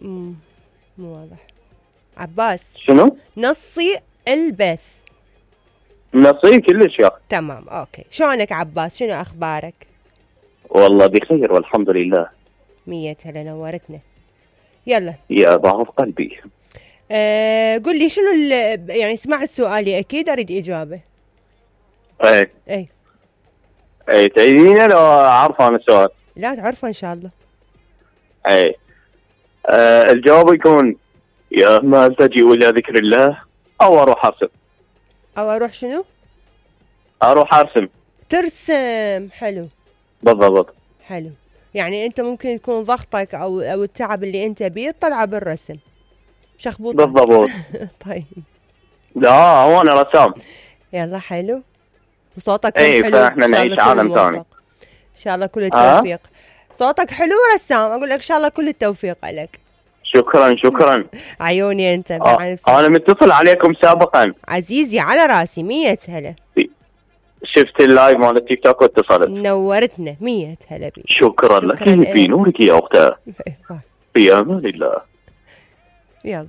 مو واضح. عباس شنو؟ نصي البث. نصي كلش يا اخي. تمام اوكي. شلونك عباس؟ شنو اخبارك؟ والله بخير والحمد لله. 100 هلا نورتنا. يلا يا ضعف قلبي. قل لي شنو يعني سمعت سؤالي اكيد اريد اجابه. اي تعيدينه لو عارفه انا السؤال؟ لا تعرفه ان شاء الله. الجواب يكون يا اما التجئ الى ذكر الله او اروح ارسم. او اروح شنو؟ اروح ارسم. ترسم. حلو. بالضبط. حلو. يعني انت ممكن يكون ضغطك او التعب اللي انت بيه تطلعه بالرسم. شخبوطه. بالضبط. طيب. لا هو انا رسام. يلا حلو. وصوتك حلو. فاحنا نعيش عالم ثاني. ان شاء الله كل التوفيق. صوتك حلو ورسام. اقول لك ان شاء الله كل التوفيق لك. شكرا. عيوني انت. انا متصل عليكم سابقا عزيزي على راسي. 100 هلا. شفت اللايف مال التيك توك واتصلت. نورتنا. 100 هلا بيك. شكرا لك في نورك يا اختي. في امان الله. يلا.